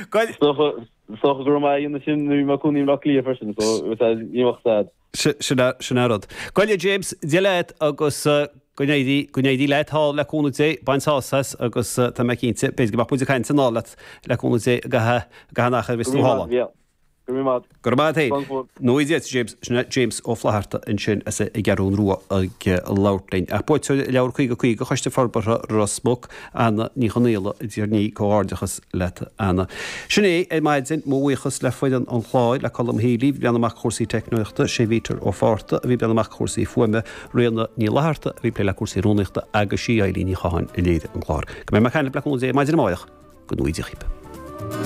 Is dócha go raibh mé á dhéanamh sin nuair a bhí mé ag cónaí i mBleá Cliath freisin, so ní bheadh stad. Sin an rud. Gabh i leith James, Dia leat agus go n-éirí, go n-éirí leat thall le cúnamh Dé, bain sásamh as agus tá mé cinnte, b'fhéidir go mbeadh muid ag caint anall leat le cúnamh Dé i gcaitheamh, i gcaitheamh an achair a bheas tú thall ann. Go raibh maith agat. Go raibh maith agat féin. Nó Dia duit James, sin é James Ó Flatharta ansin as an gCeathrún Rua ag labhairt linn. Ach buaiteoir Leabhar 50 50 Choiste Forbartha Ros Muc, Anna Ní Chonaola, a D'iarr Ní, comhghairdeachas leat Anna. Sin é ar maidin, mo bhuíochas le foireann an chláir, le Colm Healy, bhí ag breathnú amach cúrsaí teicneoireachta, sé Bhítear Ó Fátharta a bhí ag breathnú amach cúrsaí fuaime, Ríona Ní Fhlatharta a bhí ag plé le cúrsaí rúnaíochta agus sí Eilín Ní Chatháin a léirigh an clár. Go mbeidh mé ag caint libh le cúnamh Dé maidin amárach, go ngnóthaí Dia dhaoibh.